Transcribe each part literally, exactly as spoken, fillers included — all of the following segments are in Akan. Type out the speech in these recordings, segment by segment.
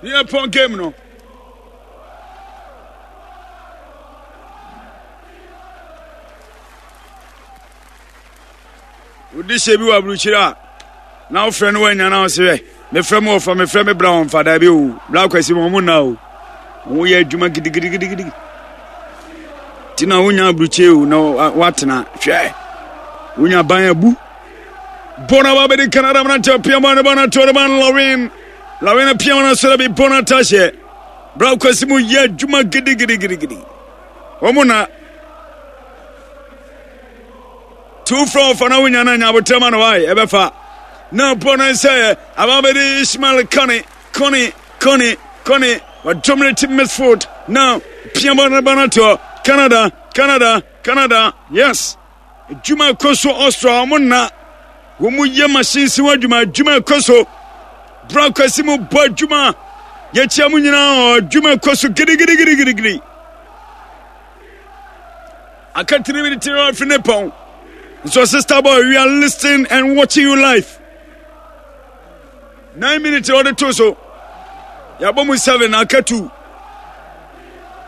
Ne yɛ pɔn game no. Wodi hyɛ bi wɔ aburukyiri a na wofrɛ no woanya na wose hwɛ mefrɛ me wɔfa mefrɛ me bra wɔmfa daabi o bra kwasi ma ɔmo nna o ɔmo yɛ adwuma gidigidigidi nti na wonya aburukyiri o na woatena hwɛ wonya ban abu bɔna ba bɛdi Canada mmerante apia ma ne ba no ato ne ba no Lawin Lawin apia ma no asɔre bi bɔna atahyɛ bra kwasi mu yɛ adwuma gidigidigidi ɔmo na Tu frɛ ɔfa na wonya no anya abotrɛ ma no wae ɛbɛfa na bɔ no sɛ ababɛde Ishmael Kone Kone Kone Kone wadominate midfield na pia bɔ no ba no toɔ Canada Canada Canada yes adwuma ɛkɔ so Austria wɔn nna wɔn yɛ machines ho adwuma adwuma ɛkɔ so bra kwasi mu bɔ adwuma yɛkyia mu nyinaa adwuma ɛkɔ so gidigidigidigidi Aka three minutes to afiri ne pɔn. So sister boy, we are listening and watching you live. Nine minutes ɔde to so. Yɛabɔ mu seven aka two.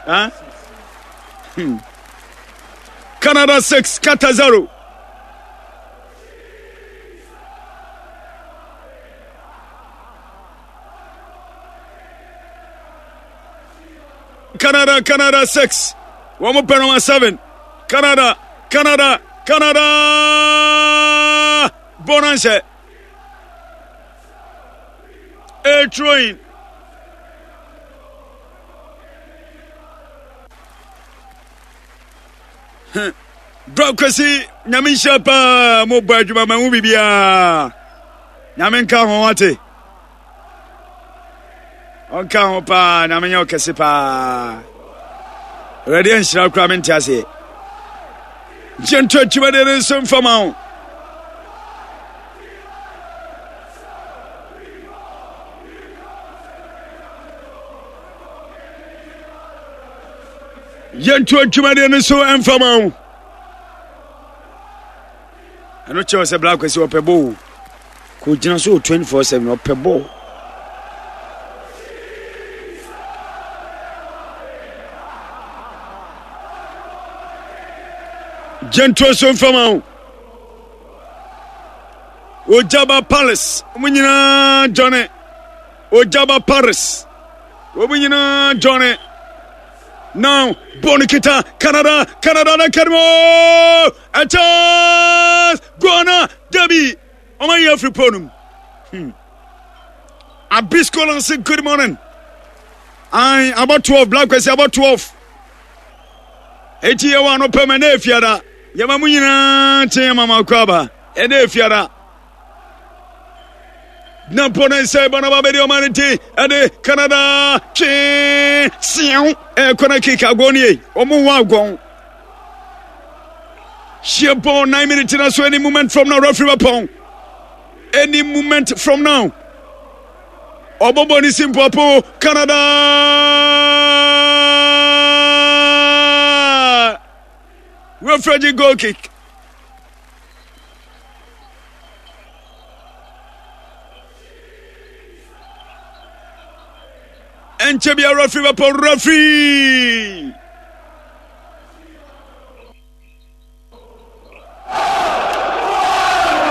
Huh? Hmm. Canada six, Qatar zero. Canada, Canada six. Wɔn mo pɛ number seven. Canada, Canada, Canada. Bɔ na nhyɛ. A throwing. Bra Kwesi, nyame nhyira paa mo bɔ adwuma ma ho biribiara. Nyame nka ho wate. Ɔnka ho paa na menyɛ ɔkɛse paa. Awurade anhyira koraa mente aseɛ. Gye nto adwumadeɛ no nso mfa ma wo. Yɛnto adwumadeɛ no nso mfa ma wo. Ɛno kyerɛ sɛ Black Kwesi ɔpɛ bɔ o. Kò gyina so twenty four seven ɔpɛ bɔ. Gyentuo so mfama o. Ojaba Palace wɔn nyinaa jɔne. Ojaba Paris wɔn nyinaa jɔne. Now bɔɔl no kita Canada Canada na kɛnɛmɔ. A chance! Guana! Debbie! Ọmọ yẹ afiri pole no mu. Hmm. Abisco Lanse, good morning. Ayi, abɔ twelve, Black Kwesi abɔ twelve. Eti yɛ wɔ anɔpɛ mu ɛna efiada. Yɛma mu nyinaa kyen yɛ mama akɔ aba. Ɛna efiada. Na mpo ne nsa ɛbɔ na ba bɛdi ɔman no ti ɛde Canada twee seɛw ɛkɔ na kick agɔn nie wɔn wɔ agɔn. Hyɛ bɔɔl nine minutes na so any moment from now referee bɛpɔn any moment from now ɔbɔbɔ ne si mpoapo Canada referee gye goal kick. Ɛnkyɛ bia referee bɛpɔ referee.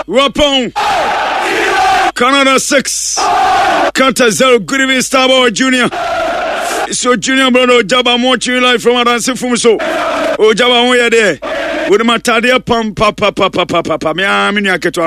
Wapɔn Canada six Qatar zero. Good evening, Starboy Junior. So Junior brother Ojaba I'm watching you live from Adansi Fum so. Ojaba ho yɛ deɛ. Wode ma tadeɛ pam pa pa pa pa pa pa. Me a me nua ketewa.